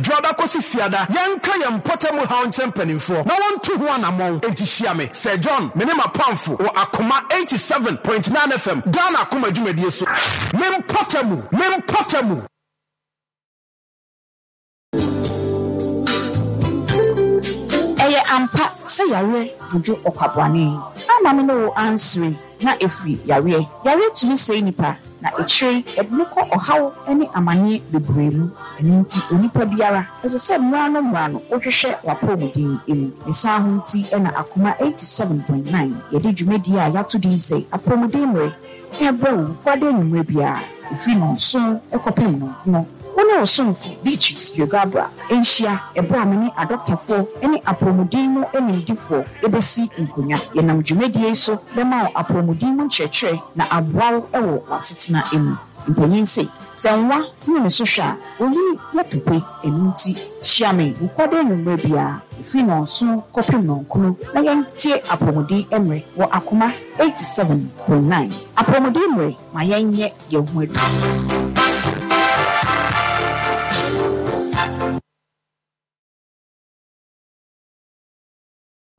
Dwoada kɔsi Fiada, yɛnka yɛn mpɔtam haw nkyerɛ mpanimfoɔ na wɔntu ho anammɔn. Enti hyia me, Sir John, me ne m'apamfo wɔ Akoma 87.9 FM, Ghana Akoma dwumadie so. Me mpɔtamu, me mpɔtamu. Ɛyɛ ampa sɛ yareɛ dwodwo ɔkwabrane. Amma me ne wo ansere na ɛfiri yareɛ. Yareɛ tumi sɛe nipa na akyire yi ɛde no kɔ ɔhaw ne amaneɛ bebree mu. Ɛno nti onipa biara ɛsɛ sɛ mmerɛ ano mmerɛ ano wohwehwɛ w'apɔwmuden mu. Ne saa ho nti na Akoma 87.9 yɛde dwumadie a yɛato din sɛ Apɔwmuden Mmere rebrɛ wo Kwada anwummerɛ biara ɛfiri nnɔnson kɔpem nnɔnkron. Wo ne wo somfo Beatrice Biogabrah nhyia ɛberɛ a me ne adɔktafoɔ ne apɔwmuden mu animdefoɔ bɛsi nkonnwa. Yɛnam dwumadie yi so bɛma wo apɔwmuden mu nkyerɛkyerɛ na aboa wo wɔ w'asetena mu. Mpanyin se, sɛ nwa hunu ne so hwɛ a, onyin yɛ tope. Ɛno nti, hyia me Wukuada anwummerɛ biara, ɛfiri nnɔnson kɔpem nnɔnkron na yɛntie Apɔwmuden Mmerɛ wɔ Akoma 87.9. Apɔwmuden Mmerɛ, ma yɛnyɛ yɛn ho adwuma.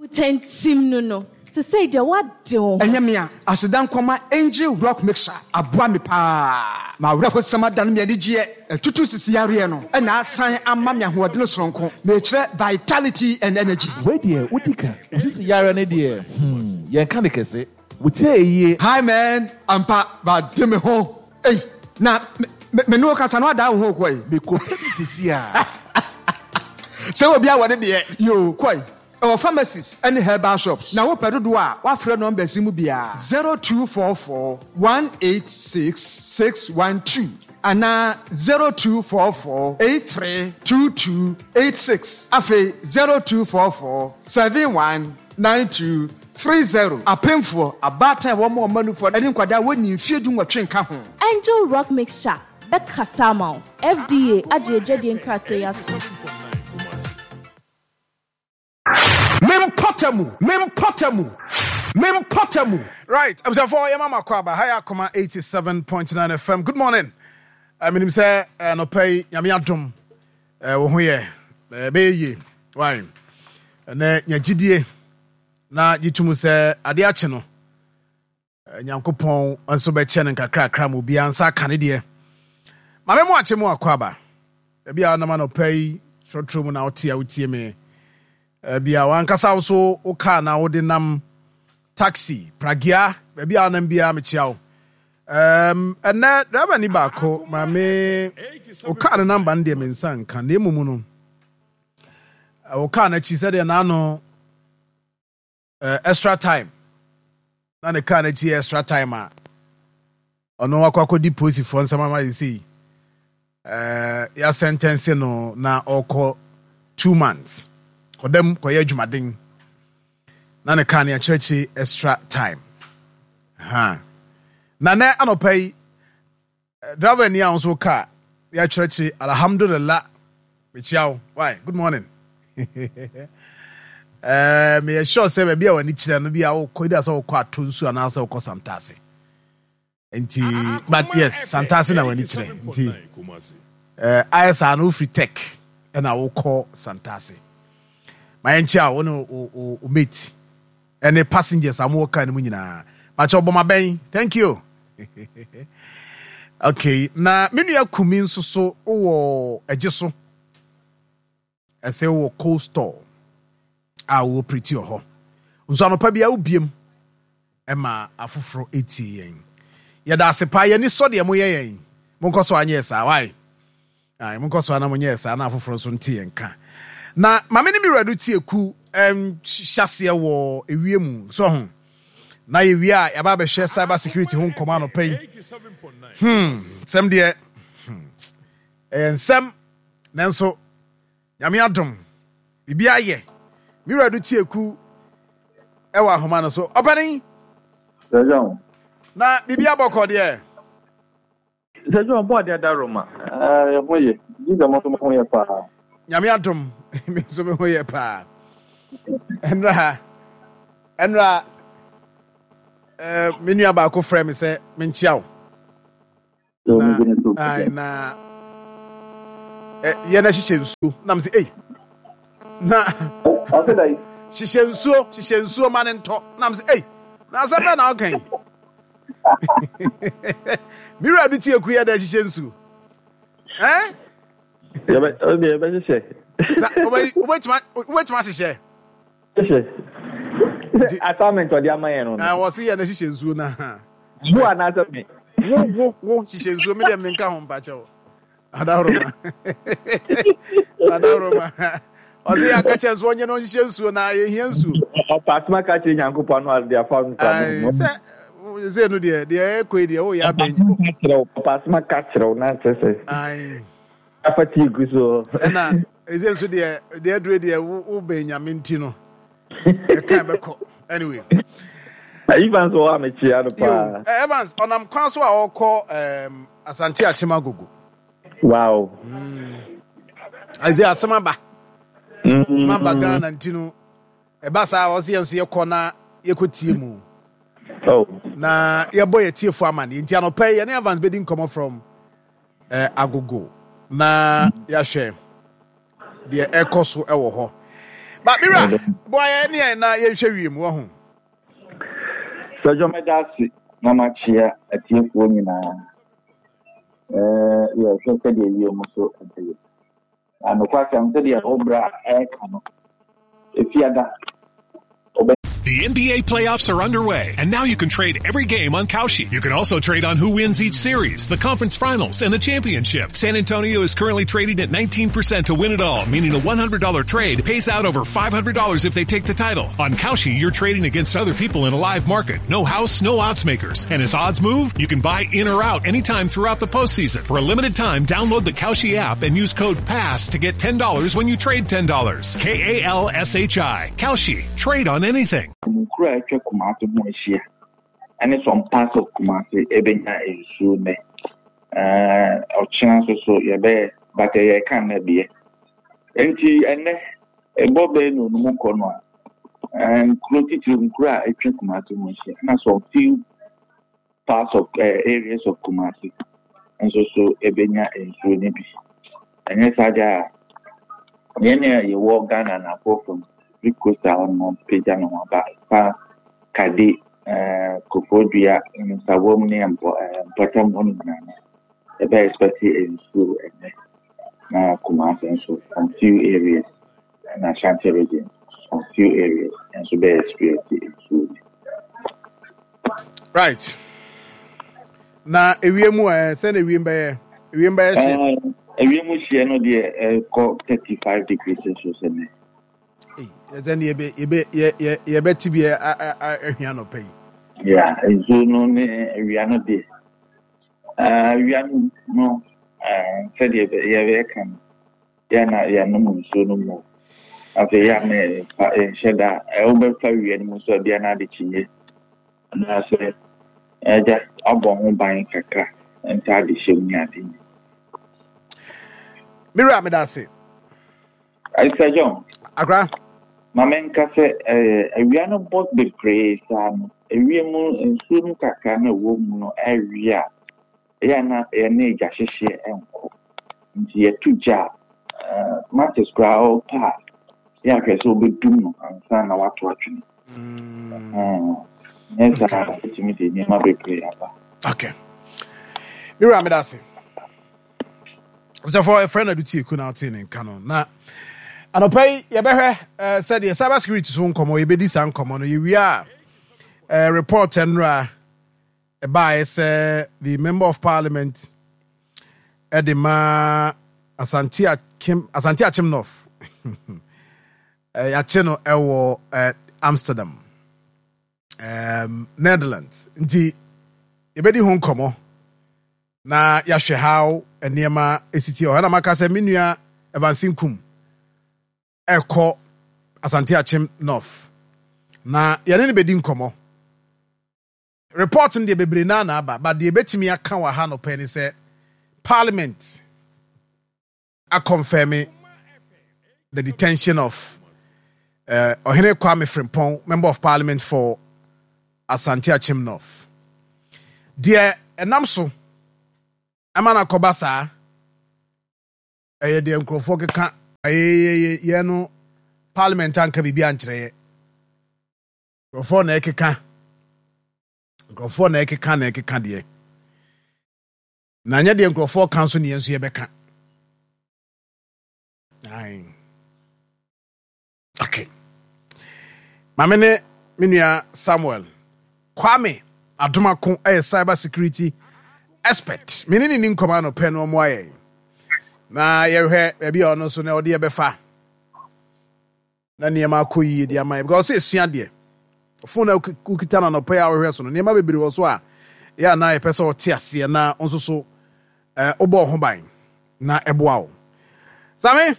Wotantim no no, sesei deɛ woade wo ho. Ɛnyɛ me a, aseda nkɔma Angel Rock Mixer aboa me paa. M'awerɛhosɛm adane me anigyeɛ, atutu sisi yareɛ no na asan ama me ahoɔdene soronko, mekyerɛ vitality and energy. Wei deɛ wodi ka. Wo sisi yareɛ no deɛ hmm yɛnka no kɛse. Wo ti ayɛ yie. Hi man, ampa made me ho ei na me me ne wo kasa no adaa wo ho kɔ ei. Me kɔ pɛ bi sisi a. Sɛ obi awɔ ne deɛ yoo kɔ ei. Ɛwɔ pharmacies ne herbal shops na wopɛ dodoɔ a woafrɛ numbers yi mu biara, 0244 186 612 anaa 0244 83 22 86 afei 0244 71 92 30. Apemfoɔ, abaatan a wɔma wɔn mma nufoɔ ne nkwadaa a wɔnnii mfeɛ dunwɔtwe nka ho. Angel Rock Mixture bɛkasa ama wo. FDA agye adwadie nkratoɔ yi atom. Me mpɔtamu, me mpɔtamu, me mpɔtamu. Right, abusuafoɔ yɛma mo akɔ aba ha yɛ Akoma 87.9 FM. Good morning. Uh, menim sɛ eh, anɔpa yi nyame adom eh, wo ho yɛ ɛbɛyɛ yie. Why? Ɛnɛ nya gyidie na gye tom sɛ adeɛ akye no Nyankopɔn nso bɛkyɛ no nkakrakra ma obiara nsa aka ne deɛ. Maame mo akye mo akɔ aba. Ebi a nam anɔpa yi trɔtrɔ mu na wote a wotie me. Ebi a wankasa wo so wo kaa na wode nam taxi, pragea, baabi a wonam biara mekyia wo. Um, ɛnɛ driver ni baako maame wo kaa no namba no deɛ me nsa nka na mmom no wo kaa no akyi sɛdeɛ n'ano uh, extra time na ne kaa n'akyi yɛ extra time a ɔno akɔ akɔdi polisifoɔ nsɛm ama yɛ sei uh, yɛasɛntɛnse no na ɔkɔ 2 months kɔdam kɔyɛ adwumaden na ne kaa no yɛakyerɛkyerɛ extra time ha na nɛ anɔpa yi driver ni a nso kaa yɛakyerɛkyerɛ alhamdulillah mekyia wo why good morning meyɛ sure sɛ baabi a w'ani kyerɛ no bi a wokɔ ebi a sɛ wokɔ ato nsu anaasɛ wokɔ santase nti but yes santase na w'ani kyerɛ nti ayɛ saa no wofiri tech ɛna wokɔ santase ma yɛnkyia wo ne wo mate ɛne passengers a mowɔ car no mu nyinaa makyɛ ɔbɔ mabɛn thank you okay na me nua kumi nso so wɔ ɛgye so ɛsɛ wɔ cold store a wɔ pretty wɔ hɔ nso anɔpa bi a wobiem ɛma afoforɔ etie yɛn yɛda ase paa yɛni sɔ deɛ moyɛ yɛn monkɔ so anyɛ saa wae ayi monkɔ so ana monyɛ saa na afoforɔ nso nte yɛn ka na maame ne mi wura do tie ku hyɛseɛ wɔ ewie mu so ho na yɛwie a yɛaba abɛhwɛ cyber security ho nkɔmɔ anɔpa yi sɛm deɛ ɛyɛ nsɛm nanso nyame adom biribi ayɛ me wura do tie ku ɛwɔ ahoma no so ɔpanin na biribi abɔkɔ deɛ Sɛ John bɔ adeɛ da Roma. Ɛɛ ho yɛ. Gye sɛ mo nso mo ho yɛ paa. Nyame adom me nso me ho yɛ paa. Ɛnra ɛnra ɛɛ me nua baako frɛ me sɛ menkyia wo. Na na Yɛn hyehyɛ nsuo na mo sɛ ei na Ɔsɛ dɛ. Hyehyɛ nsuo, hyehyɛ nsuo ma ne ntɔ na mo sɛ ei na asɛm bɛn na ɔka yi. Me wura do tie ku yɛ dɛ hyehyɛ nsuo. Eh? Yɛbɛ ɔde yɛbɛhyehyɛ. Sa wobɛtumi ahyehyɛ. Hyehyɛ. Assignment ɔde ama yɛn no. Na wɔ se yɛ na hyehyɛ nsuo na. Wo anaasɛ me. Wo wo wo hyehyɛ nsuo me deɛ menka ho mpakyɛw. Adaworoma. Adaworoma. Ɔse yɛ aka kyerɛ nso ɔnyɛ no ɔnhyehyɛ nsuo na yɛhia nsuo. Ɔpaasoma ka kyerɛ Nyankopɔn no ade afa no sa no. Sɛ sɛ no deɛ deɛ ɛkɔ yi deɛ woyɛ abɛn. Ɔpaasoma ka kyerɛ wo na kyerɛ sɛ. Ayi. Afa tii gu so. Ɛna ɛsɛ nso deɛ deɛ adure deɛ wobɛn Nyame nti no. Ɛka ɛbɛkɔ anyway. Evans wɔ hɔ a mekyia no paa. Evans ɔnam kwan so a ɔkɔ Asante Akyem Agogo. Wow. Ɛsɛ asɛm aba. Asɛm aba Ghana nti no ɛba saa ɔsɛ yɛn nso yɛkɔ na yɛkɔtie mu. Oh. Na yɛbɔ yɛ tiefo amanneɛ nti anɔpa yi yɛne Evans bɛdi nkɔmmɔ from eh, Agogo na yɛahwɛ deɛ ɛkɔ so wɔ hɔ. Ba mira boa yɛn ne yɛn na yɛnhwɛ wiem wɔ ho. Sɛdwo mɛda ase na makyea atiefoɔ nyinaa. Yɛhwɛ sɛdeɛ wiem so ɛbɛyɛ. Na nokwasɛm sɛdeɛ wo bra ɛreka no, Efiada The NBA playoffs are underway, and now you can trade every game on Kalshi. You can also trade on who wins each series, the conference finals, and the championship. San Antonio is currently trading at 19% to win it all, meaning a $100 trade pays out over $500 if they take the title. On Kalshi, you're trading against other people in a live market. No house, no odds makers. And as odds move, you can buy in or out anytime throughout the postseason. For a limited time, download the Kalshi app and use code PASS to get $10 when you trade $10. K-A-L-S-H-I. Kalshi. Trade on anything. Nkuro a atwa Kumasi ho ahyia ne some parts of Kumasi ɛbɛnya nsuo nnɛ. Ɛɛ ɔkyena nso so yɛbɛyɛ but ɛyɛ ɛka nnɛ deɛ. Nti ɛnnɛ ɛbɔ bɛyɛ no mu kɔ no a nkuro titiri nkuro a atwa Kumasi ho ahyia na some few parts of areas of Kumasi nso so ɛbɛnya nsuo no bi. Ɛnyɛ saa deɛ a, yɛn a yɛwɔ Ghana anafoɔ fam, Cape Coast a hɔnom apagya ne ho aba fa Kade, eh, Koforidua, Nsawam ne mpɔ, eh, mpɔtam hɔ no nyinaa no, yɛbɛ expect nsuo ɛnnɛ. Na Kumasi nso, some few areas, na Ashanti region, some few areas nso bɛ experience nsuo bi. Right. Na ewiem mu ɛ sɛ na ewiem bɛyɛ ewiem bɛyɛ hye. Ewiem hyeɛ no deɛ ɛkɔ 35 degrees Celsius ɛnɛ. Ɛsɛ ne yɛbɛ yɛbɛ yɛ yɛbɛte bi ahwia nɔpɛ yi. Yeah, nsuo no ne awia no deɛ. Awia no sɛdeɛ yɛbɛka no. Yɛ a na yɛanom nsuo no mu. Afei yɛ a na yɛmfa yɛnhyɛ da a wobɛfa wia no mu nso a bia na ade kyinnye anaasɛ agya abɔ ho ban kakra ntaade hyɛ mu ne ade nyinaa. Me wura meda ase. Sir John. Akra. Ma menka sɛ awia no bɔ bebree saa no, ewiem nsuo no kakra na ɛwɔ mu no awie a, ɛyɛ a na yɛne gya hyehyeɛ nkɔ. Nti yɛto gya a, matches koraa ɔpɛ a, yɛ ahwɛ sɛ wobɛdum no ansa na wato atwene. Nyɛ saa a, wobɛtumi de nneɛma bebree aba. Okay. Me wura meda ase. Abusuafoɔ ɛfrɛ no Adutie Ku na wotee ne nka no. Na anɔpa yi yɛbɛhwɛ eh, sɛdeɛ cyber security so nkɔmmɔ yɛbɛdi saa nkɔmmɔ no yɛwie a eh, report nnora Ɛbaeɛ sɛ the member of parliament de ma Asante Akim Asante Akyem North yɛakye no ɛwɔ Amsterdam um, Netherlands nti yɛbɛdi ho nkɔmmɔ na yɛahwɛ how nneɛma ɛsiti hɔ ɛna maka sɛ me nua Evans Nkum ɛkɔ Asante Akyem North na yɛne no bɛdi nkɔmmɔ. Report no deɛ bebree naa na aba, but deɛ yɛbɛtumi aka wɔ ha anɔpa yi ne sɛ Parliament akɔnfɛme the detention of uh, Ɔhene Kwame Frimpong, Member of Parliament for Asante Akyem North. Deɛ ɛnam so ɛma no akɔba saa. Ɛyɛ deɛ nkurɔfoɔ keka ayeyeye yɛ no parliament anka biribi ankyerɛ yɛ. Nkurɔfoɔ na ɛkeka. Nkurɔfoɔ na ɛkeka na ɛkeka deɛ. Na nyɛ deɛ nkurɔfoɔ ka nso ne yɛn nso yɛbɛka. Ae. Okay. Maame ne me nua Samuel Kwame Adomako yɛ cyber security expert. Me ne ne ni nkɔmɔ anɔpɛ no ɔmo ayɛ. Na yɛhwɛ baabi a ɔno nso na ɔde yɛbɛfa. Na nneɛma akɔ yie de ama yɛ because ɔsɛ esua deɛ. Phone a wokita no anɔpɛ a wɔhwɛ so no nneɛma bebree wɔ so a yɛ anaa yɛpɛ sɛ ɔte aseɛ na nso so wobɔ ho ban na ɛboa wo. Same.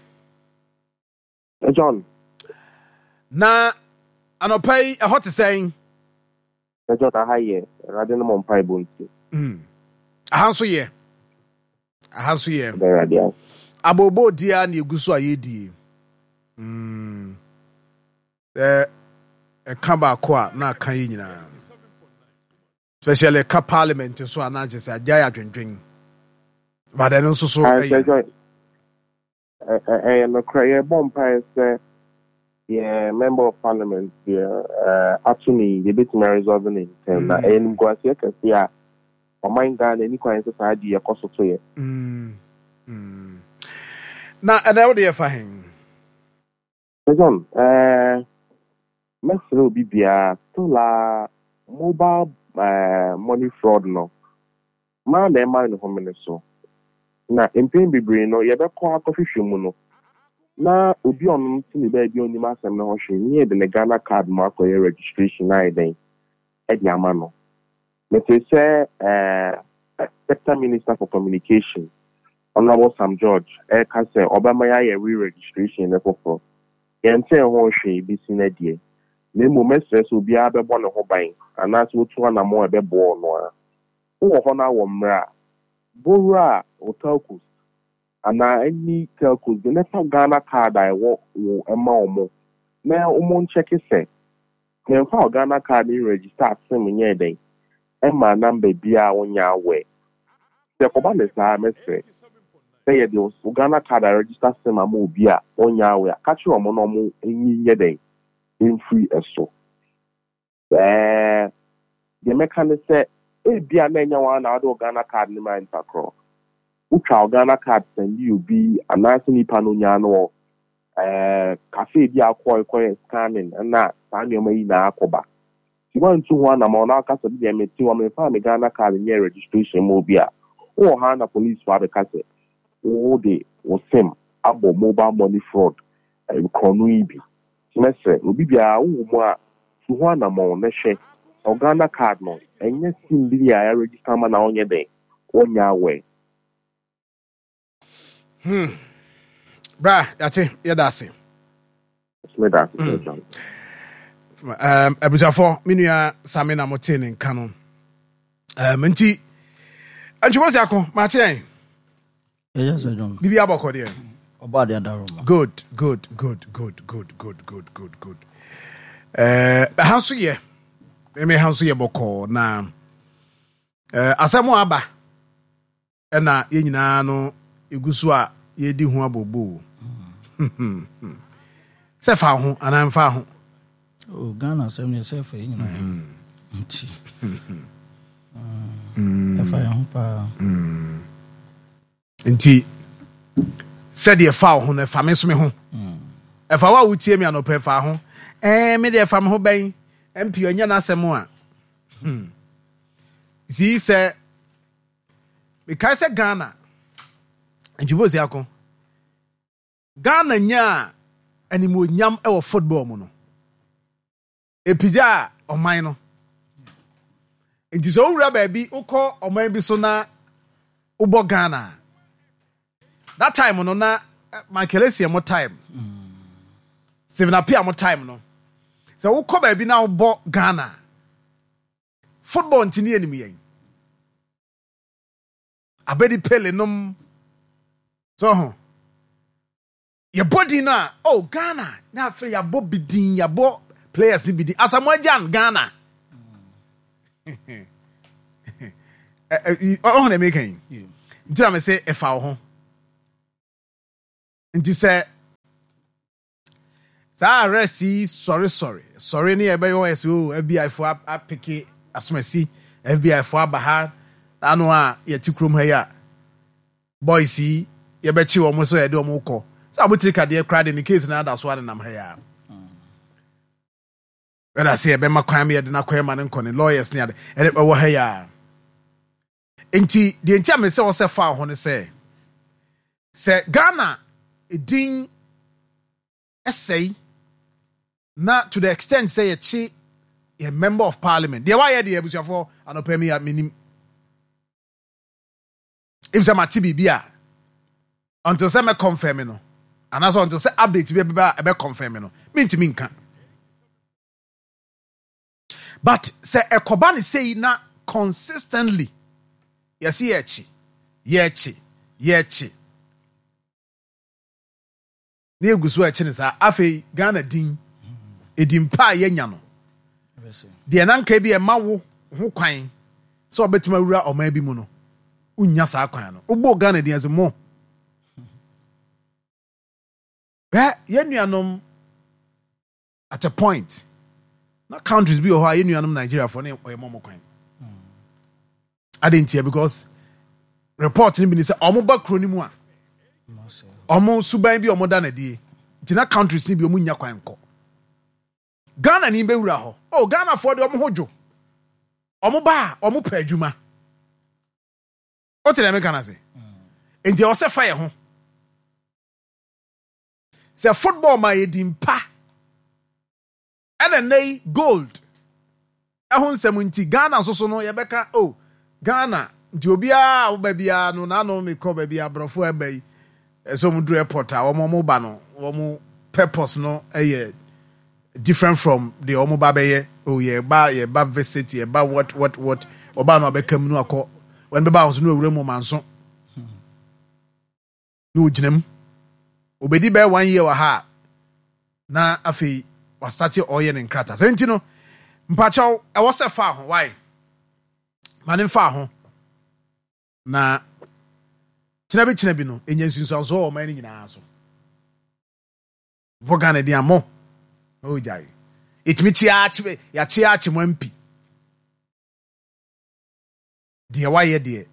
John. Na anɔpa yi ɛhɔ te sɛn? John, aha yɛ, Awurade no mo mpaebɔ nti. Aha nso yɛ. Aha nso yɛ. Awurade ase. Abooboo di ara na egu so a yɛredie. Sɛ ɛka baako a na aka yɛ nyinaa. Especially ɛka parliament nso a na kyerɛ sɛ agyae adwendwen. But ɛno nso so ɛyɛ. Ɛyɛ nokorɛ, yɛbɔ mpaeɛ sɛ yɛn Member of Parliament deɛ ato no yi, yɛbɛtumi a resolve no ntɛm. Na ɛyɛ animguaseɛ kɛseɛ a ɔman Ghana ɛni kwan sɛ saa adeɛ yi ɛkɔ so to yɛ. Na ɛnɛ wode yɛfa hen? Sir John, eh, mɛsrɛ obi biara, still a mobile eh, money fraud no, maa na ɛma ne homene so. Na mpɛn bebree no, yɛbɛkɔ akɔhwehwɛ mu no, na obi a ɔno te ne baabi a ɔnim asɛm no ho hwee, ne yɛde ne Ghana card mu akɔyɛ registration ayɛ dɛn de ama no. Metee sɛ eh, Sector Minister for Communication, Honourable Sam George reka sɛ ɔbɛma yɛayɛ re-registration no foforɔ. Yɛntee ho hwee besi nnɛ deɛ, na mmom mɛsrɛ sɛ obiara bɛbɔ ne ho ban anaasɛ ɔtu anammɔn a ɛbɛboa ɔno ara. Wowɔ hɔ na wɔ mmerɛ a, bɔ wura wo telcos anaa any telcos bi na fa Ghana card a ɛwɔ wo ma wɔn na wɔn nkyɛke sɛ Memfa wo Ghana card nregister sim nyɛɛ dɛn mmaa number biaa a wonyɛ aware. Sɛ ɛkɔba no saa a mɛsrɛ sɛ yɛde wo Ghana card aregister sim ama obi a ɔnyɛ aware a ka kyerɛ wɔn na wɔn nyi nyɛ dɛn mfiri ɛso. Ɛɛ deɛ mɛka ne sɛ ebia na ɛnyɛ wo ara na wode wo Ghana card no maa nipa korɔ. Wotwaa wo Ghana card sɛndee obi anaasɛ nipa no nyaa no wɔ Ɛɛ cafe bi a wokɔe kɔyɛ scanning na saa nneɛma yi nyinaa akɔba. Nti woantu ho anamɔn na woka sɛ me deɛ mete hɔ memfaa me Ghana card nyɛɛ registration mma obi a, wowɔ hɔ ara na policefoɔ abɛka sɛ wode wo sim abɔ mobile money fraud korɔno yi bi. Nti mɛsrɛ obi biara wowɔ mu a tu ho anamɔn na hwɛ sɛ wo Ghana card no ɛnyɛ sim bi a yɛaregister ama no a wonyɛ dɛn wonyɛ aware. Bra, yate, yɛda ase. Abusuafoɔ, me nua Same na motee ne nka no. Nti, Antwumɔ si ako, maakye yɛn. Biribi abɔkɔ deɛ. Good, good, good, good, good, good, good, good, good. Ɛha nso yɛ, ɛmɛ ha nso yɛ bɔkɔɔ na asɛm a aba. Ɛna yɛn nyinaa no yɛgu so a yɛredi ho abooboo. Sɛ fa ho anaa mfa ho. Oh, Ghana asɛm deɛ sɛ ɛfa yɛn nyinaa mm-hmm. nti mm. ɛfa yɛn ho paa. Mm. Nti sɛdeɛ fa wo ho no ɛfa me nso me ho. Mm. Ɛfa wo a wotie me anɔpɛ ɛfa ho. Ɛɛ me deɛ ɛfa me ho bɛn MP ɔnyɛ n'asɛm a. Hmm. Sii sɛ Mekae sɛ Ghana, Ntwifosi ako, Ghana nyaa animuonyam wɔ football mu no, ɛpigyaa ɔman no. Nti sɛ wowura baabi, wokɔ ɔman bi so na wobɔ Ghana a, that time no na eh, Michael Essien mo time, Stephen Appiah mo time no, sɛ wokɔ baabi na wobɔ Ghana a, Football nti ne yɛnim yɛn. Abedi Pele nom. So ho. Yɛbɔ din no a, oh Ghana, na afei yɛabɔ bi din, yɛabɔ players no bi din. Asamoah Gyan, Ghana. Ɔho na meka yi. Nti na me se ɛfa wo ho. Nti sɛ saa arrest yi sɔre sɔre sɔre ne yɛbɛyɛ wɔn ɛsɛ o FBI fo apeke asomasi FBI fo aba ha ano a yɛte kurom ha yi a boys yi yɛbɛkye wɔn so yɛde wɔn kɔ sɛ abotire kadeɛ koraa de ne case na ada so anenam ha yi a wɛda sɛ yɛbɛma kwan ma yɛde no akɔ yɛma no nkɔ ne lawyers ne ade ɛde ɛwɔ ha yi a nti deɛ nti a mesɛ wɔ sɛ fa ho ne sɛ sɛ Ghana din ɛsɛe na to the extent sɛ yɛkye yɛ member of parliament deɛ wayɛ deɛ abusuafoɔ anɔpɛ mi a menim if sɛ mate biribi a until sɛ mɛ confirm no anaasɛ until sɛ update bi ɛbɛba a ɛbɛ confirm no mentumi nka but sɛ ɛkɔba ne sei na consistently yɛse yɛkye yɛkye yɛkye na yɛgu so ɛkye no saa afei Ghana din edin pa a yɛanya no deɛ na nka bi ɛma wo ho kwan sɛ ɔbɛtumi awura ɔman bi mu no wonnya saa kwan no wobɔ Ghana din ase mo bɛ yɛn nuanom at a point na countries bi wɔ hɔ a yɛn nuanom Nigeriafoɔ ne ɔyɛ mɔmɔ kwan ade ntia because report no bi ni sɛ ɔmo ba kuro no mu a ɔmo suban bi ɔmo da na die nti na countries ni bi ɔmo nya kwan kɔ Ghana ni bɛwura hɔ oh Ghanafoɔ de ɔmo ho dwo ɔmo ba a ɔmo pɛ adwuma o te deɛ meka no ase nti ɛwɔ sɛ fa yɛ ho Sɛ football ma yɛ din pa ɛna nnɛ yi gold ɛho nsɛm nti Ghana nso so no yɛbɛka oh Ghana nti obiara a woba biara no n'ano mekɔ baabi aborɔfo ɛba yi ɛsɛ wɔn duru airport a wɔn wɔn ba no wɔn purpose no ɛyɛ different from deɛ wɔn ba bɛyɛ oh yɛba yɛba visit yɛba what what what ɔbaa no abɛka mu no akɔ wɔn bɛba ahosuo no awura mu ɔmanso. na ogyina mu. Obedi bɛyɛ one year wɔ ha a, na afei wasate ɔreyɛ ne nkrataa. Sɛ nti no, mpakyɛw, ɛwɔ sɛ fa ho, why? Ma ne mfa ho. Na kyena bi kyena bi no, enya nsunsuansoɔ wɔ ɔman no nyinaa so. Bɔ Ghana din amɔ. Oh, gyae. Yɛtumi kyea akye, yɛakyea akye mo ampi. Deɛ wayɛ deɛ.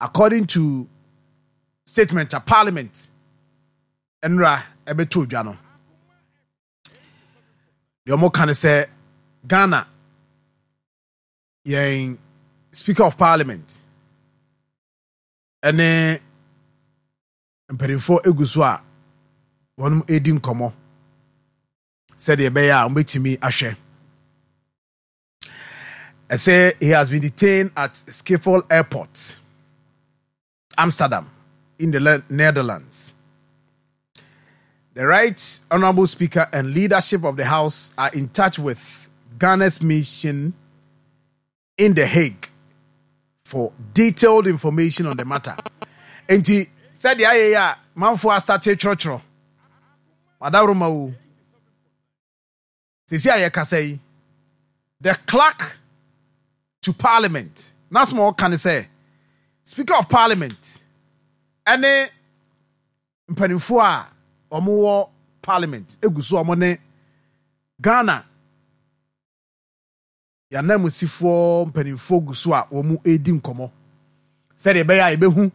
According to statement a parliament nnora ɛbɛtɔ dwa no, deɛ wɔn ka ne sɛ Ghana yɛn speaker of parliament ɛne mpanimfoɔ egu so a wɔn redi nkɔmɔ sɛdeɛ ɛbɛyɛ a wɔbɛtumi ahwɛ. Ɛsɛ he has been detained at Schiphol Airport, Amsterdam, in the Netherlands. The Right Honorable Speaker and leadership of the House are in touch with Ghana's mission in The Hague for detailed information on the matter. Enti sɛdeɛ ayɛ yi a manfoɔ astate twerɛtwerɛ madaworoma o sɛsi a yɛkasa yi the clerk to parliament n'asɛm a ɔka ne sɛ speaker of parliament ɛne mpanimfoɔ a wɔwɔ parliament egu so wɔn ne Ghana Yɛn ananmusifoɔ mpanimfoɔ gu so a wɔredi nkɔmmɔ sɛdeɛ ɛbɛyɛ a yɛbɛhu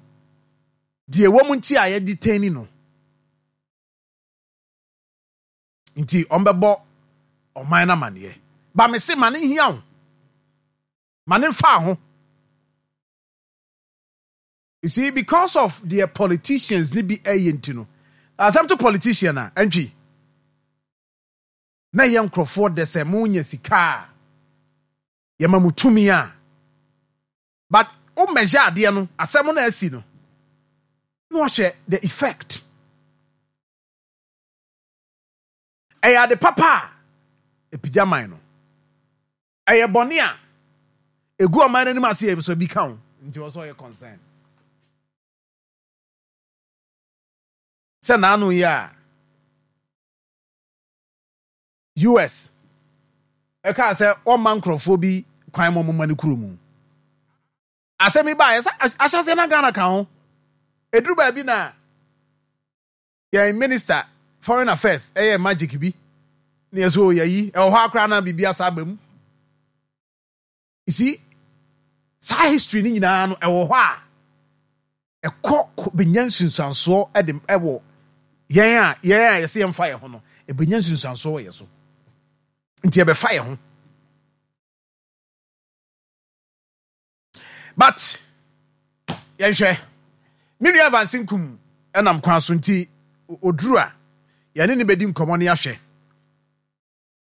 deɛ ɛwɔ mu nti a yɛdetaini no. Nti wɔbɛbɔ ɔman no amaneɛ. Ba me se ma ne nhia wo. Ma ne mfa ho. You see, because of their politicians ni bi ɛyɛ nti no, asɛm to politician a, ɛntwi. Na ɛyɛ nkurɔfoɔ dɛ sɛ mo nya sika a yɛma mo tumi a but wo measure adeɛ no asɛm no asi no na wahwɛ the effect ɛyɛ ade papa a ɛpigya man no ɛyɛ bɔne a ɛgu ɔman no anim ase yɛ so bi ka ho nti wɔ sɛ ɔyɛ concern sɛ naano yi a US. Ɛkaa sɛ wɔmma nkurɔfoɔ bi kwan ma wɔmma ne kuro mu. Asɛm yi baeɛ sɛ ahyɛaseɛ na Ghana ka ho. Ɛduru baabi na Yɛn minister foreign affairs ɛyɛ magic bi na yɛ so yɛyi ɛwɔ hɔ akora na biribi asa aba mu. You see, saa history no nyinaa no ɛwɔ hɔ a ɛkɔ bɛnya nsunsuansoɔ ɛde ɛwɔ yɛn a yɛn a yɛsɛ yɛmfa yɛn ho no ɛbɛnya nsunsuansoɔ wɔ yɛn so nti ɛbɛfa yɛn ho. But yɛnhwɛ me nua Evans Nkum ɛnam kwan so nti oduru a yɛne ne bɛdi nkɔmmɔ ne ahwɛ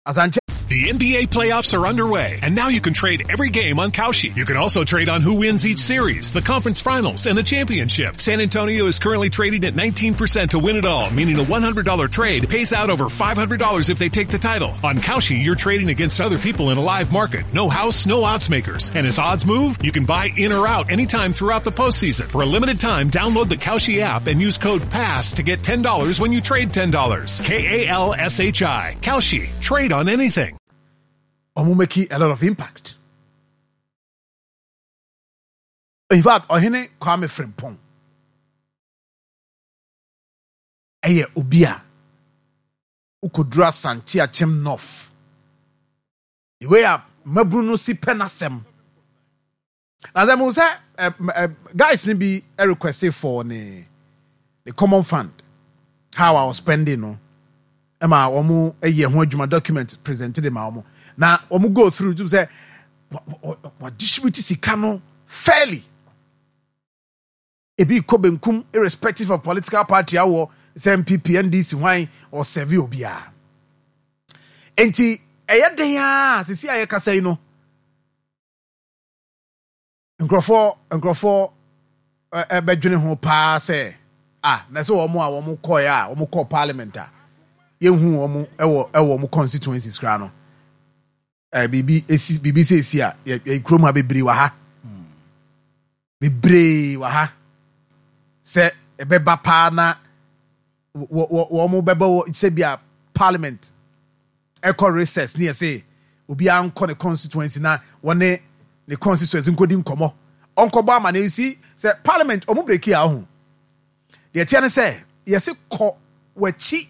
Asante. The NBA playoffs are underway, and now you can trade every game on Kalshi. You can also trade on who wins each series, the conference finals, and the championship. San Antonio is currently trading at 19% to win it all, meaning a $100 trade pays out over $500 if they take the title. On Kalshi, you're trading against other people in a live market. No house, no odds makers. And as odds move, you can buy in or out anytime throughout the postseason. For a limited time, download the Kalshi app and use code PASS to get $10 when you trade $10. K-A-L-S-H-I. Kalshi. Trade on anything. Ɔmo make a lot of impact. In fact, Ɔhene Kwame Frimpong ɛyɛ obi a wokɔduru Asante Akyem North. The way a mmabunu no si pɛ n'asɛm. Na sɛ mo sɛ guys no bi request for ne ne common fund how I was spending no ɛma wɔn yɛ ho adwuma document present de ma wɔn na wɔn go through tum sɛ wa distribute sika no fairly ebi kɔ benkum irrespective of political party awɔ sɛ NPP NDC hwan ɔsɛve obiara nti ɛyɛ den a sisi a yɛkasa yi no. Nkurɔfoɔ nkurɔfoɔ bɛdwene ho paa sɛ ah na sɛ wɔn a wɔn kɔɛ a wɔn kɔɔ parliament a yɛnhu wɔn wɔ ɛwɔ wɔn constituencies koraa no ɛɛ biribi esi biribi sɛ esi a yɛ yɛ kurom ha bebree wɔ ha bebree wɔ ha sɛ ɛbɛba paa na wɔ wɔ wɔn bɛbɔ wɔ sɛ bi a parliament ɛkɔ recess ne yɛse obiara nkɔ ne constituency na wɔne ne constituency nkɔdi nkɔmmɔ ɔnkɔbɔ amaneɛ you see sɛ parliament ɔmo breki a ɔho deɛ ɛteɛ ne sɛ yɛse kɔ w'akyi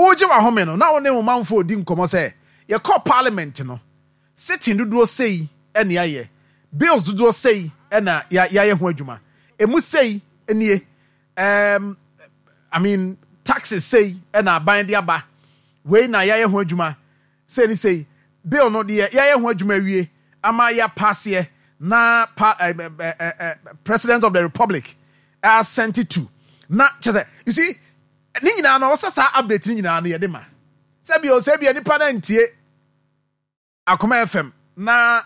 Woregye w'ahome no, na wo ne wo manfoɔ redi nkɔmmɔ sɛ, Yɛkɔɔ parliament no, sitting dodoɔ sei na yɛayɛ, bills dodoɔ sei na yɛayɛ ho adwuma, ɛmu sei nie, um, I mean, taxes sei na aban de aba, wei na yɛayɛ ho adwuma, sei ne sei, bill no deɛ yɛayɛ ho adwuma awie ama yɛapaaseɛ na pa, eh, eh, eh, eh, President of the Republic assent to. Na kyɛ sɛ, you see, Ne nyinaa no ɔsɛ saa update no nyinaa no yɛde ma. Sɛ bio sɛ bia nipa no antie Akoma FM na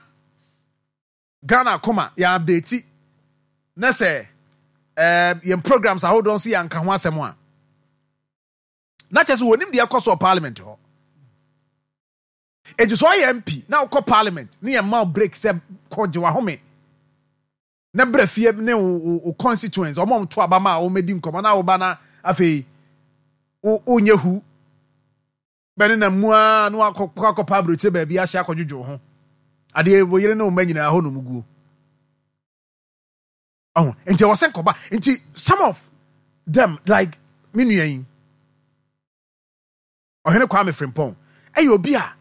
Ghana Akoma yɛ update na sɛ eh, yɛn programs ahodoɔ nso yɛanka ho asɛm a na kyerɛ sɛ wɔnim deɛ ɛkɔ so wɔ parliament hɔ. Enti sɛ ɔyɛ MP na wokɔ parliament ne yɛn ma break sɛ kɔgye wahome na bra fie ne wo wo constituents wɔn a wɔto aba ma a wɔmmɛdi nkɔmmɔ na woba na afei wonyɛ hu bɛne na mu ara na wakɔ akɔpa aburokyire baabi ahyɛ akɔdwodwo ho adeɛ wo yere ne wo mma nyinaa hɔ nom guo ɔho nti ɛwɔ sɛ nkɔba nti some of them like me nua yi ɔhene Kwame Frimpong ɛyɛ obi a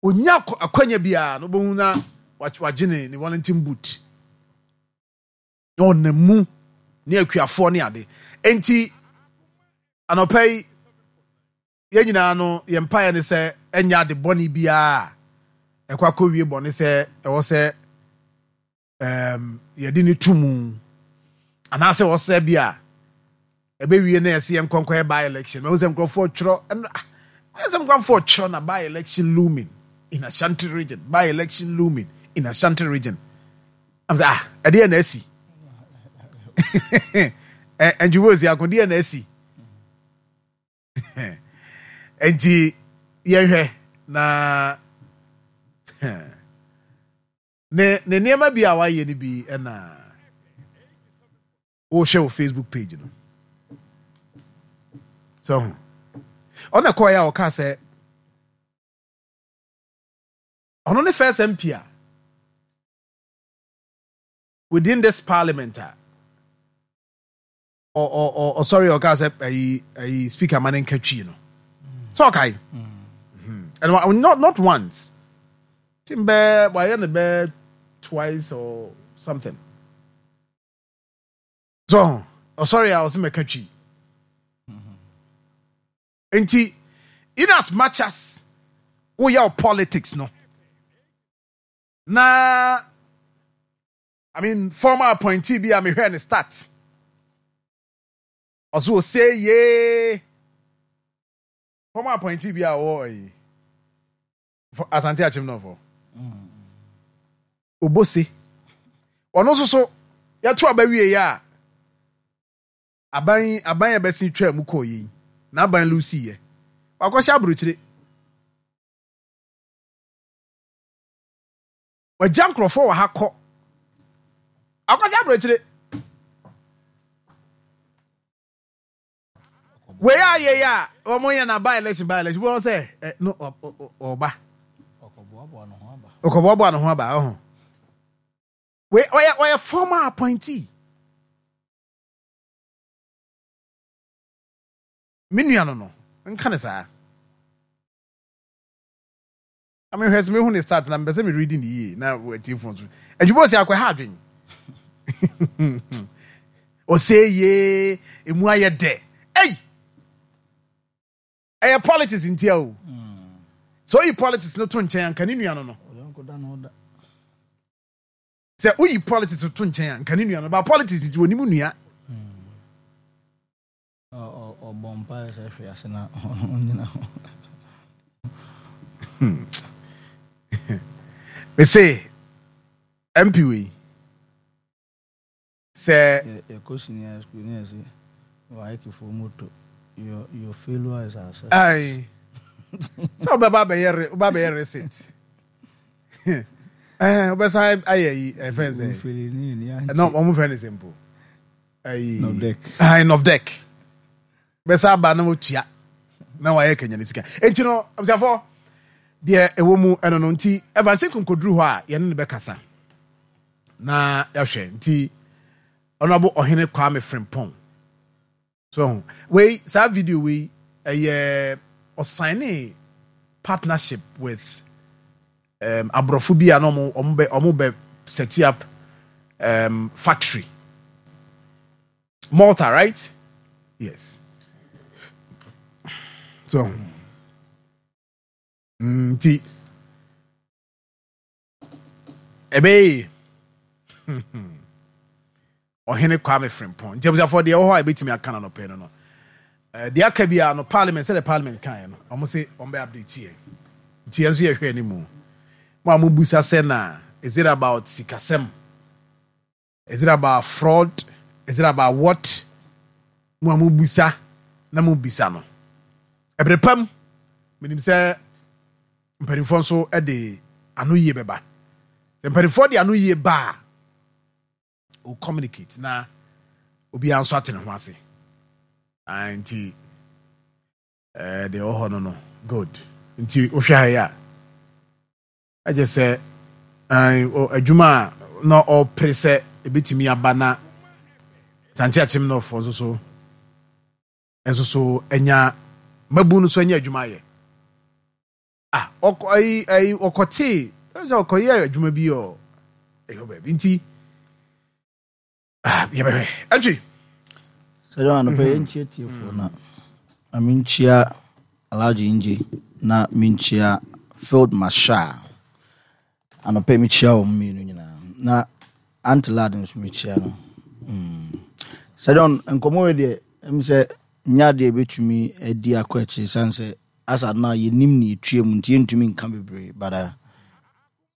Ɔnya akwanya biara no wobɛhu na wagye ne ne Wellington boot na ɔnam mu ne akuafoɔ ne ade. Enti anɔpa yi yɛn nyinaa no yɛn mpaeɛ ne sɛ ɛnyɛ ade bɔne biara a ɛkɔ akɔwie bɔne sɛ ɛwɔ sɛ um, yɛde no to mu anaasɛ ɔsɛ bi a ɛbɛwie na yɛsɛ yɛn nkɔnkɔ yɛ by election mahu sɛ nkurɔfoɔ twerɛ ɛno ah, sɛ nkurɔfoɔ twerɛ na by election looming in Ashanti region by election looming in Ashanti region I'm sɛ ah ɛdeɛ na asi ɛntwibɔ si ako deɛ na asi nti yɛhwɛ na Ne ne nneɛma bi a wayɛ no bi na wohwɛ wɔ Facebook page no. So ho. Ɔna kɔɛ a ɔka sɛ ɔno ne first MP a within this parliament a. Ɔsɔre ɔkaa sɛ ayi ayi speaker ma ne nka twi no sɛ ɔkae and not once tim bɛɛ wayɛ no bɛɛ twice or something so ɔsɔre a ɔsɛ mɛka twi nti in as much as woyɛ politics no na I mean former appointee bi a mehwɛɛ ne start. Ɔso ose yee. Former appointee bi a ɔwɔ ayi. Asante Akyem Nɔfo. Obose. Ɔno nso so yɛto aba wie yɛ a aban aban a ɛbɛsen twaa mu kɔɔ yei na aban lusi yɛ. Wakɔhyɛ aburokyire. Wagya nkurɔfoɔ wɔ ha kɔ. Akɔhyɛ aburokyire. Wei a yɛ yɛ a wɔn yɛ na by election by election wɔn sɛ ɛ no ɔba. Ɔkɔboaboa ne ho aba ɔho. Wei ɔyɛ ɔyɛ former appointee. Me nua no no nka ne saa. Na mehwɛ sɛ mehu ne start na mepɛ sɛ me reading ne yie na atiefo nso adwuma ɔsi akɔ ha adwen ɔsɛ yie emu ayɛ dɛ ei ɛyɛ politics ntia o sɛ oyi politics no to nkyɛn anka ne nua no no sɛ woyi politics to nkyɛn anka ne nua no ba politics nti onim nua. Ɔbɔ mpaeɛ sɛ hwe ase na ɔnyina hɔ. Mese MP wei sɛ. Yɛkɔ senior school ne yɛse waekefoɔ moto your your failure is our success. Ayi sɛ wobɛba abɛyɛ wobɛ abɛyɛ receipt ɛɛ wobɛsan ayɛ yi ɛfɛn sɛ ɛnna wɔn fɛn ne sɛ mpo. ayi nɔfdɛk bɛsa aba na wɔtua na wayɛ kanya ne sika nti no abusuafoɔ deɛ ɛwɔ mu ɛno no nti Evans nkonkoduru hɔ a yɛne no bɛkasa na yɛahwɛ nti ɔnabo ɔhene Kwame Frimpong So wei saa video wei ɛyɛ ɔsainee partnership with um, aborɔfo bi a na ɔmo ɔmo bɛ ɔmo bɛ set up um, factory Malta right yes so nti. Ɛbɛyɛ yie. Ɔhene Kwame Frimpong. Nti abusuafoɔ deɛ ɛwɔ hɔ a yɛbɛtumi aka no anɔpɛ no no. Eh, deɛ aka biara no parliament sɛdeɛ parliament kaeɛ no wɔn se wɔn bɛ update yɛn. Nti yɛn nso yɛhwɛ anim. Mo a mobusa sɛ na is it about sikasɛm? Is it about fraud? Is it about what? Mo a mobisa na mobisa no. Ɛbere pa mu, menim sɛ mpanimfoɔ nso de ano yie bɛba. Sɛ mpanimfoɔ de ano yie ba a, o communicate na obiara nso ate ne ho ase. Ah, nti eh, deɛ ɛwɔ hɔ no no, good. Nti wohwɛ ha yi a, Ɛkyɛ sɛ adwuma a na ɔrepere sɛ ebetumi aba na Asante Akyem Northfoɔ nso so nso so anya mmabu no so anya adwuma ayɛ. Ah, ɔkɔ ayi ayi ɔkɔtee sɛ ɔkɔyɛ adwuma bi ɔ ɛyɛ baabi nti Ah, yɛbɛhwɛ. Ɛntwi. Sɛ yɛn anɔpɛ yɛn nkyia tiefoɔ na na menkyia Alhaji Ngye na menkyia Field Marshal anɔpɛ mekyia wɔn mmienu nyinaa na Auntie Lad nso mekyia no. Mm. Sɛ John nkɔmmɔ wei deɛ ɛm sɛ nyɛ adeɛ ɛbɛtumi adi akɔ akyiri sane sɛ asa no a yɛnim ne yɛtua mu nti yɛntumi nka bebree but uh,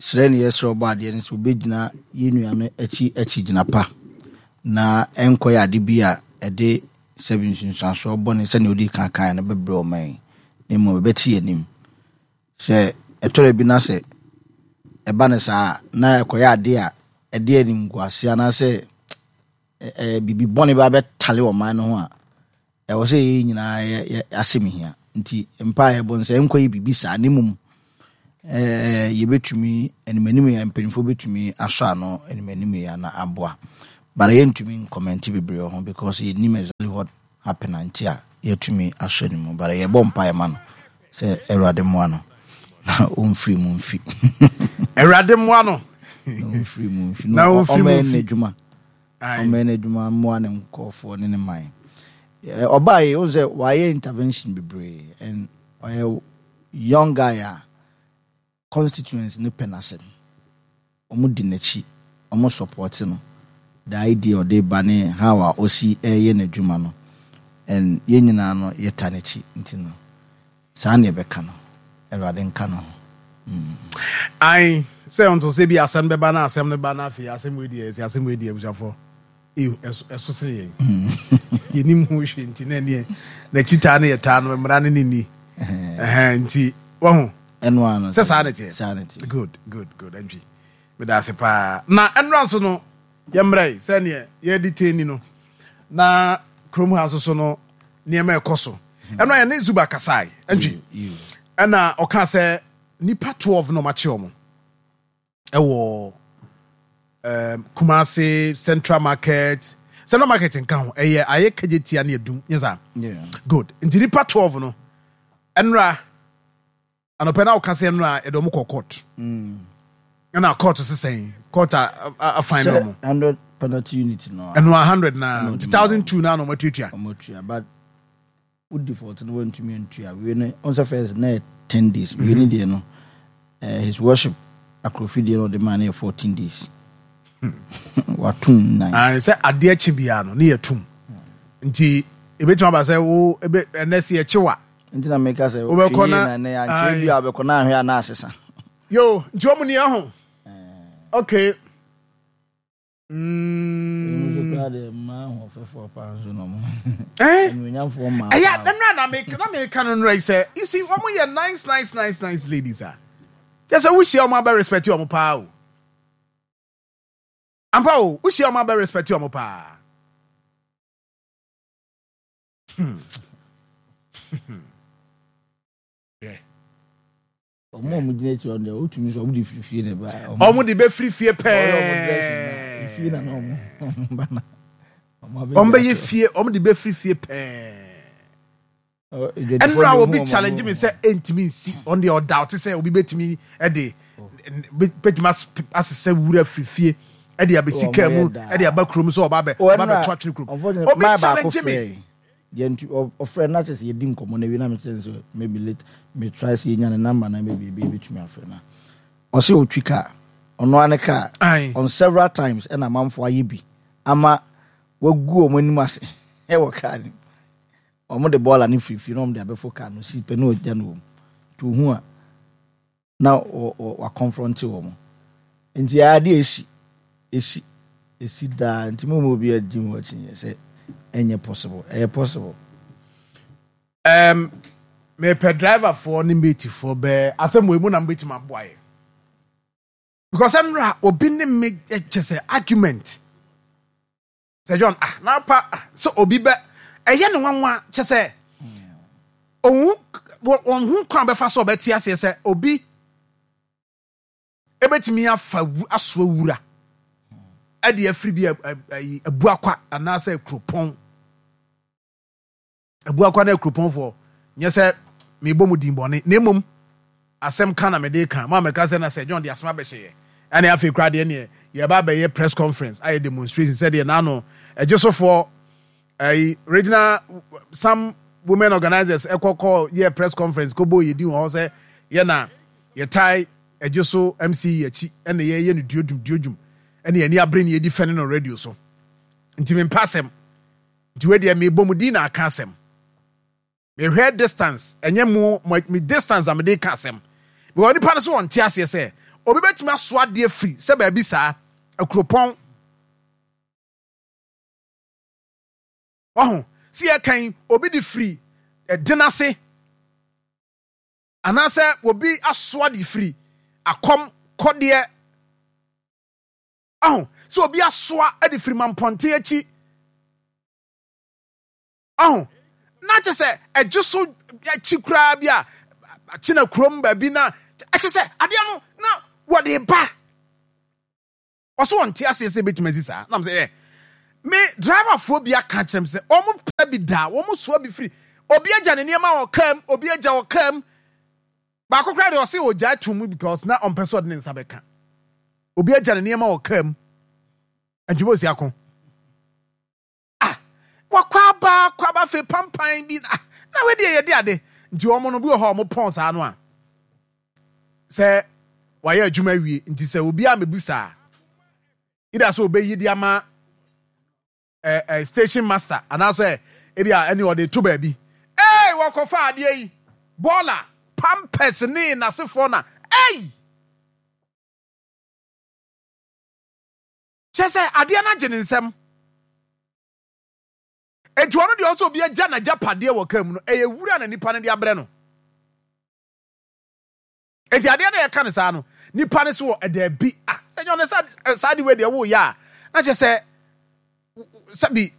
Srɛ ne yɛsrɛ Ɔbɔadeɛ no sɛ ɔbɛgyina yɛn nua no akyi akyigyina pa na ɛnkɔyɛ ade bi a ɛde sɛbe nsunsuansoɔ bɔne sɛnea ɔdii kan kaeɛ no bɛbrɛ ɔman yi, na mmom ɛbɛte yɛn anim. Sɛ ɛtɔ da bi na sɛ ɛba no saa a, na ɛkɔyɛ ade a ɛde animguaseɛ anaasɛ biribi bɔne ba bɛtale ɔman no ho a, Ɛwɔ sɛ yɛn nyinaa yɛ yɛ asɛm hia. Nti mpae a yɛbɔ no sɛ ɛnkɔyɛ biribi saa na mmom ɛɛ yɛbɛtumi animanim yɛ mpanimfoɔ bɛtumi asɔ ano animanim yɛ na aboa. But yɛntumi nkɔmɛnte bebree wɔ ho because yɛnnim exactly what happened a nti a yɛatumi asɔ ne mu. But yɛbɔ mpaeɛ ma no sɛ Awurade mmoa no na ɔmfiri mu mfi. Awurade mmoa no. Na ɔmfiri mu mfi. Na ɔmfiri mu mfi. N'adwuma. Ɔmmɛyɛ n'adwuma mmoa ne nkurɔfoɔ ne ne man. Ɔbaa yi, wohu sɛ wayɛ intervention bebree and ɔyɛ young guy a constituents no pɛ n'asɛm. Wɔn di n'akyi, wɔn support no, the idea ɔde ba ne how a ɔsi ɛyɛ n'adwuma no and yɛn nyinaa no yɛta n'akyi nti no saa na yɛbɛka no. Awurade nka ne ho. Mm. Ae, sɛ ɔnto sɛ bi asɛm bɛba na asɛm no ba na afei asɛm wei deɛ ɛsɛ asɛm wei deɛ abusuafoɔ ɛso sene yɛn yɛnim ho hwee nti na ɛneɛ n'akyi taa ne yɛtaa no mmara no ne ni nti wahu sɛ saa ne teɛ. Good, good, good. Antwi meda ase paa. Na ɛnora nso no yɛmmra yi sɛneɛ yɛde tɛni no na kurom ha nso so no nneɛma ɛkɔ so. Ɛno a yɛne Zuba kasae Antwi ɛna ɔka sɛ nipa 12 na ɔmakye ɔmo ɛwɔ um, Kumasi Central Market. Central Market nka ho ɛyɛ ayɛ kagye tia ne adum nyɛ saa. Good. Nti nipa 12 no ɛnora anɔpɛ na ɔka sɛ ɛnora yɛde ɔmo kɔ court. Mm. Ɛna court sesɛn court a afan ne ɔmo. 100 penalty unit no. Ɛno a 100 na nti 1002 na na ɔmo atuatua. Ɔmo atua but wo default no wantumi antua wei no ɔn sɛ first na yɛ 10 days wei no deɛ no eh, his worship akorofi deɛ no ɔde maa no yɛ 14 days watom nan. Ae, sɛ adeɛ kye biara no ne yɛtom nti ebɛtumi aba sɛ wo ebe ɛnɛ sɛ yɛkye wa nti na meka sɛ wobɛkɔ na na yɛantwerɛ bi a wobɛkɔ na ahwɛ a na asesa. Yo, nti wɔn ni ɛho. Okay. Mm. Eh? Ɛyɛ na na na meka na meka no nora yi sɛ you see wɔn yɛ nice nice nice nice ladies a kyɛ sɛ wohyia wɔn abɛ respect wɔn paa o ampa o wohyia wɔn abɛ respect wɔn paa. Hmm. yeah. Ɔmo a ɔmo gyina akyire hɔ no deɛ wotumi sɛ ɔmo de firi fie na ɛba. Ɔmo de bɛfiri fie pɛɛ. Fie na na ɔmo ɔmo ba na. Ɔmo bɛyɛ fie ɔmo de bɛfiri fie pɛɛ. Ɛnura obi challenge mi sɛ ɛntumi nsi ɔno deɛ ɔda ɔte sɛ obi bɛtumi ɛde bɛtumi asesɛ wura firi fie ɛde abɛsi kaa mu ɛde aba kurom sɛ ɔba bɛ ɔba bɛto atwene kurom. Obi challenge mi. Deɛ nti ɔfrɛ na kyerɛ sɛ yɛdi nkɔmmɔ no awie na mekyerɛ no sɛ maybe late me try sɛ yɛnya ne number na maybe ebi ebɛtumi afrɛ no a ɔsɛ ɔtwi car ɔno ara ne car on several times ɛna amanfoɔ ayɛ bi ama wagu wɔn anim ase ɛwɔ car no mu wɔn de bɔɔla no firifiri na wɔn de abɛfo car no si pɛ na ɔgya no wɔ mu nti ohun a na wakɔnfrɔnte wɔn. Nti adeɛ esi, esi, esi daa. Nti mo mu obi agye ho akyinnye sɛ ɛnyɛ possible. Ɛyɛ possible. Um, mepɛ driverfoɔ ne matefoɔ bɛɛ asɛm wɔ mu na mobɛtumi aboa yɛ because ɛnora obi ne me kyɛ sɛ argument Sir John, ah, na pa ah, sɛ obi bɛ ɛyɛ ne nwanwa kyɛ sɛ ohun wɔn ho kwan bɛfa so ɔbɛte aseɛ sɛ obi ebetumi afa asoa wura ɛde afiri bi abuakwa anaasɛ kuropɔn. Abuakwa ne Akuropɔnfoɔ, nyɛ sɛ merebɔ mo din bɔne, na mmom asɛm ka na mede reka. Mo a mɛka sɛ na Sir John de asɛm abɛhyɛ yɛ, ɛne afei koraa deɛ neɛ yɛreba abɛyɛ press conference ayɛ demonstration sɛdeɛ n'ano ɛgyesofoɔ ɛyi regional some women organizers ɛkɔ kɔ yɛ press conference kɔbɔ yɛ din wɔ hɔ sɛ yɛ na yɛtae ɛgye so MC akyi ɛna yɛyɛ no duodwum duodwum ɛne yɛn ani abere ne yɛdi fɛne no radio so nti mempɛ asɛm. Nti wei deɛ mebɔ mu din na aka asɛm. Mehwɛ distance, ɛnyɛ mo, me distance a mede ka asɛm. Because nipa no so wɔnte aseɛ sɛ obi bɛtumi aso adeɛ firi sɛ baabi saa, akuropɔn. Waho, sɛ yɛkan obi de firi ɛden ase anaasɛ obi asoa de firi akɔm kɔdeɛ. Aho, sɛ obi asoa de firi mampɔnten akyi. Aho, na kyɛ sɛ ɛgye so akyi koraa bi a akyena kurom baabi na ɛkyɛ sɛ adeɛ no na wɔde ba. Ɔso wɔn te aseɛ sɛ ebetumi asi saa. Nam sɛ ɛ. Me driverfoɔ bi aka kyerɛ me sɛ wɔn pɛ bi da, wɔn soa bi firi. Obi agya ne nneɛma wɔ kaa mu, obi agya wɔ kaa mu. Baako koraa deɛ ɔse ɔgyae to mu because na ɔmpɛ sɛ ɔde ne nsa bɛka. Obi agya ne nneɛma wɔ kaa mu. Antwuma osi ako. Ah, wakɔ aba akɔ aba afei pampan bi ah, na wei deɛ yɛde ade. Nti wɔn no bi wɔ hɔ a wɔn pɔn saa no a sɛ wayɛ adwuma awie nti sɛ obi a mebu saa ida sɛ obeyi de ama eh, eh, station master anaasɛ ebi a ɛne ɔde to baabi. Ee, wɔkɔfa adeɛ yi bɔɔla pampers ne n'asefoɔ na ei. Kyerɛ sɛ adeɛ no agye ne nsam. Enti ɔno deɛ ɔsɛ obi agya n'agyapadeɛ wɔ kaa mu no, ɛyɛ wura na nipa no de abrɛ no. Enti adeɛ no yɛka no saa no, nipa no so wɔ ɛdaabi. Ah, sɛ nyɛ ɔno saa de wei deɛ woyɛ a, na kyerɛ sɛ sɛbi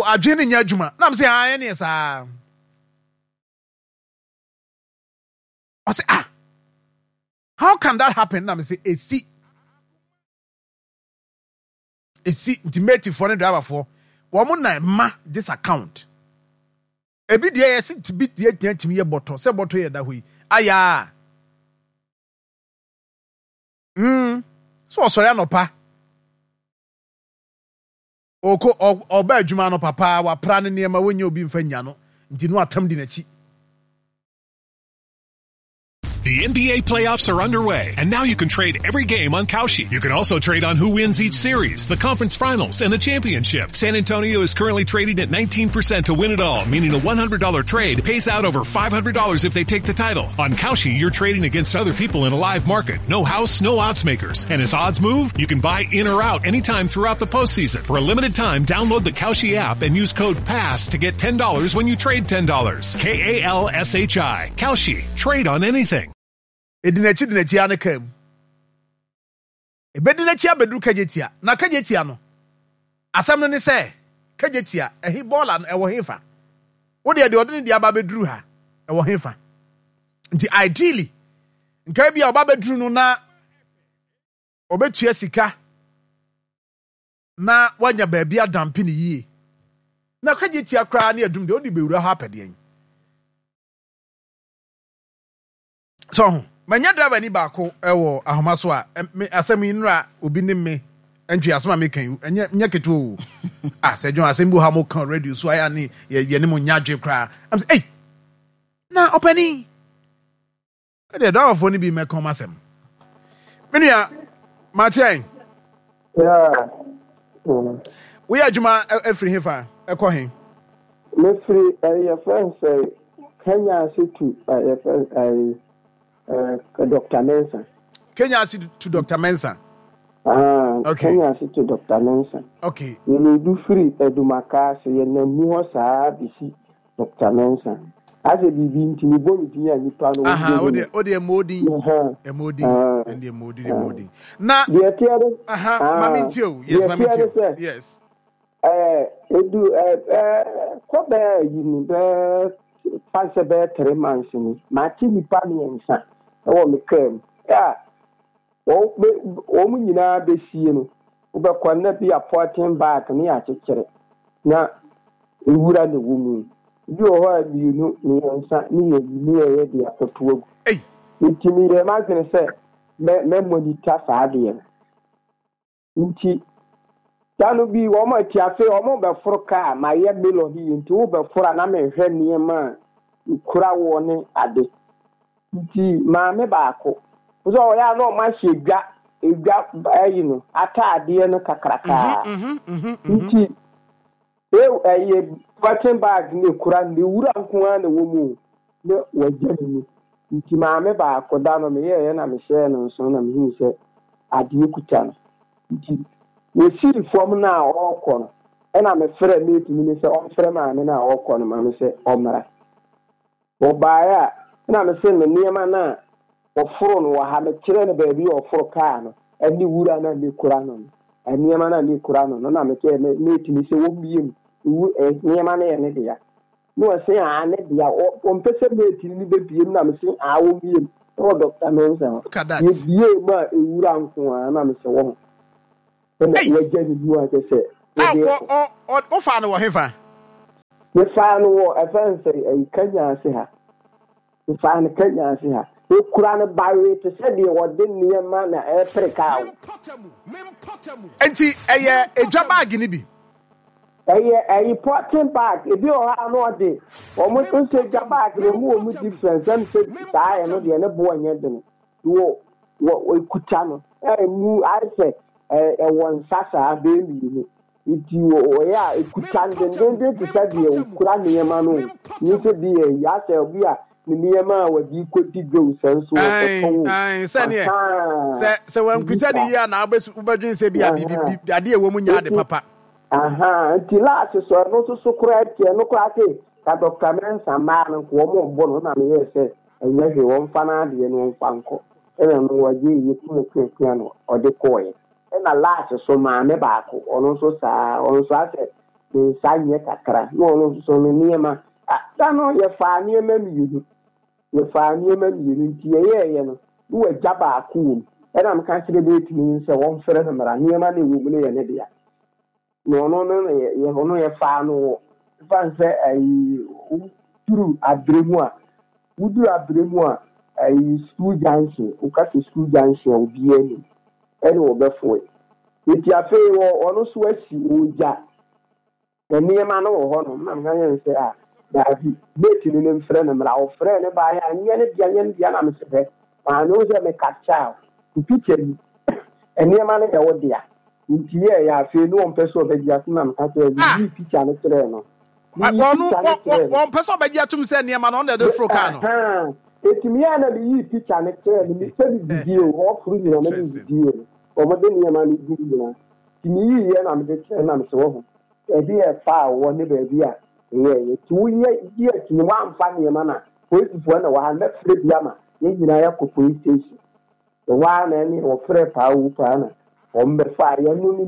adwene no nyɛ adwuma. Na m sɛ ah, ɛneɛ saa. Ɔsɛ ah, how can that happen? Na m sɛ esi. Esi nti matefoɔ ne driverfoɔ wɔn na ɛma this account. Ebi deɛ yɛsi bi deɛ gyina tumi yɛ bɔtɔ sɛ bɔtɔ yɛ da hɔ yi ayaa. Mm so ɔsɔre anɔpa ɔkɔ ɔba adwuma anɔpa paa wapra ne nneɛma wɔnyɛ obi mfa nya no nti no atam di n'akyi. The NBA playoffs are underway, and now you can trade every game on Kalshi. You can also trade on who wins each series, the conference finals, and the championship. San Antonio is currently trading at 19% to win it all, meaning a $100 trade pays out over $500 if they take the title. On Kalshi, you're trading against other people in a live market. No house, no odds makers. And as odds move, you can buy in or out anytime throughout the postseason. For a limited time, download the Kalshi app and use code PASS to get $10 when you trade $10. K-A-L-S-H-I. Kalshi. Trade on anything. Edi n'akyi di n'akyi ara ne kaa mu. Ebedi n'akyi abɛduru Kagyetia. Na Kagyetia no, asɛm no ne sɛ, Kagyetia, ɛhe bɔɔla no, ɛwɔ hefa? Wo deɛ, deɛ ɔde ne deɛ aba abɛduru ha, ɛwɔ hefa? Nti ideally, nka ebi a ɔba abɛduru no na ɔbɛtua sika na wanya baabi adampe ne yie. Na Kagyetia koraa ne adum deɛ, wode bɛwura hɔ apɛdeɛn? So ho manya driver ni baako wɔ ahoma so a me asɛm yi nnora obi ne me ntwe asɛm a meka yi ɛnyɛ nyɛ ketewa o ah sɛ dwon asɛm bi wɔ ha mo ka radio so ayɛ ne yɛ yɛ ne mo nya adwe koraa am sɛ ei na ɔpani ɛdeɛ driverfoɔ no bi mɛka ɔm asɛm me nua makyɛn woyɛ adwuma afiri he fa ɛkɔ he mefiri yɛfrɛ no sɛ Kenya ase to yɛfrɛ Dr. Mensah Kenya ase to Dr. Mensah Ah, okay. Kenya ase to Dr. Mensah okay. Yɛledu firi Adumaka ase yɛnam mu hɔ saa bɛsi Doctor Mensah. Asɛ biribi nti me bɔ ne din a nipa no Aha, wo deɛ wo deɛ mmɔ odin. Mmɔ odin. Ɛndeɛ mmɔ odin, mmɔ odin. Na deɛ teɛ de. Aha, ma me ntie o. Yes, ma me ntie o. Yes. Ɛɛ edu ɛɛ ɛɛ kɔ bɛɛ yi ni bɛɛ fa sɛ bɛyɛ 3 months ni. Mate nipa mmiɛnsa ɛwɔ me kaa mu. A wɔn nyinaa bɛsie no, wobɛkɔ na bi a polythene bag ne yɛakyekyere na nwura na ɛwɔ mu. Bi wɔ hɔ a mmienu, mmiɛnsa ne yɛyi ne yɛyɛ de akɔto agu. Nti meyɛɛ m'adwene sɛ mɛ mɛ monitor saa adeɛ no. Nti da no bi wɔn ati afei wɔn bɛforo kaa mayɛ melody yi nti wobɛforo a na mehwɛ nneɛma a ekura woɔ ne ade. Nti maame baako sɛ ɔyɛ a na ɔmo ahyɛ dwa edwa ayi no ataadeɛ no kakrakaa. Nti ɛyɛ polythene bag na ekura no, ne wura nko ara na ɛwɔ mu o, na wagya ne mu. Nti maame baako da no meyɛeɛ na mehyɛɛ no nso na mehuu sɛ adeɛ kuta no. Nti wɔsii fam no a ɔrekɔ no, ɛna mefrɛ mate no sɛ ɔmfrɛ maame no a ɔrekɔ no ma me sɛ ɔmmra. Ɔbaeɛ a, ɛna mese me nneɛma no a wɔforo no wɔ ha, mekyerɛ no baabi a ɔforo kaa no ne wura no a ne kura no no, nneɛma no a ne kura no no, na mekyerɛ mate no sɛ wɔmmie mu, nneɛma no yɛ ne dea. Na ɔse aa ne dea, ɔmpɛ sɛ mate no bɛbie mu, na mese aa wɔmmie mu. Ɛwɔ Dr. Mensah hɔ. Yɛbie mu a ewura nko ara na mesɛ wɔ ho. Ɛna wagya ne mu a kyerɛ sɛ. A wɔ ɔ ɔ wofaa no wɔ hefa? Mefaa no wɔ ɛfɛ nsɛ ɛyi Kenya ase ha. Mefaa no Kenya ase ha. Ekura no bawee te sɛ deɛ wɔde nneɛma na ɛrepere kaa o. Nti ɛyɛ edwa baagi no bi? Ɛyɛ ɛyi pɔtin bag. Ebi wɔ hɔ a na ɔde wɔn nso edwa bag no wɔn wɔ mu difference ɛm sɛ saa ɛno deɛ ne boɔ nyɛ den. Wɔ wɔ ekuta no ɛmu ayɛ sɛ ɛwɔ nsa saa bɛyɛ mmienu. Nti ɔyɛ a ekuta no dendenden te sɛ deɛ okura nneɛma no o. Nye sɛ bi yɛ yi asɛ obi a ne nneɛma a wɔde kɔdi dwa o sɛ nso ɔkɔtɔn o. Ae, sɛneɛ Ahaa, sɛ sɛ biribi wankuta ne saa. yie a na wobɛsu wobɛdwen sɛ bi a biribi Ahaa. bi adeɛ ɛwɔ mu nyɛ ade Nti papa. ahaa, nti last so ɛno nso so koraa nti ɛno koraa se ka Dr. Mensah mmaa no nka wɔn rebɔ no na meyɛɛ sɛ ɛnyɛ hwee wɔmfa n'adeɛ no wɔmfa nkɔ. Ɛna no wɔgye yɛ kua kua kua no ɔde kɔɔeɛ. Ɛna last so maame baako ɔno nso saa ɔno nso asɛ ne nsa nyɛ kakra na ɔno nso so ne nneɛma ah da no yɛfaa nneɛma mmienu yɛfaa nneɛma mmienu nti yɛyɛɛyɛ no na wagya baako wɔ mu ɛna meka kyerɛ bɛtumi no sɛ wɔmfrɛ no mmara nneɛma no ɛwɔ mu no yɛ ne dea na ɔno no na yɛ yɛ ɔno yɛfaa no wɔ ɛfa sɛ ayi woduru abere mu a woduru abere mu a ayi school junction woka sɛ school junction a obiara nim ɛne wɔbɛfoe nti afei wɔ ɔno so asi ɔgya nneɛma no wɔ hɔ nom na meka yɛn sɛ a daabi mate no ne mfrɛ no mmra ɔfrɛ ne baeɛ a nyɛ ne dea nyɛ ne dea na mesɛ hwɛ maame wo sɛ meka kyɛw picture yi nneɛma no yɛ wo dea nti yɛɛyɛ afei ne ɔmpɛ sɛ ɔbɛgye atom na meka kyerɛ no meyii picture no kyerɛɛ no meyii Ɔno picture no kyerɛɛ no ɔmpɛ sɛ ɔbɛgye atom sɛ nneɛma no ɔno na ɛde foro kaa no. Ahaa eti meyɛɛ na meyii picture no kyerɛɛ no mesɛ medidie o ɔforo nyina na medidie o wɔde nneɛma no gu nyina nti meyiiɛ na mede kyerɛ na mesɛ wahu baabi a ɛfaa wɔ ne baabi a ɛyɛɛyɛ nti woyɛ gye akyi no woamfa nneɛma no a polisifoɔ na wɔ ha mɛfrɛ bi ama yɛn nyinaa yɛakɔ police station. Ɛhɔ ara na ɛne wɔfrɛɛ paa wu paa na wɔbɛfaa yɛn no ne.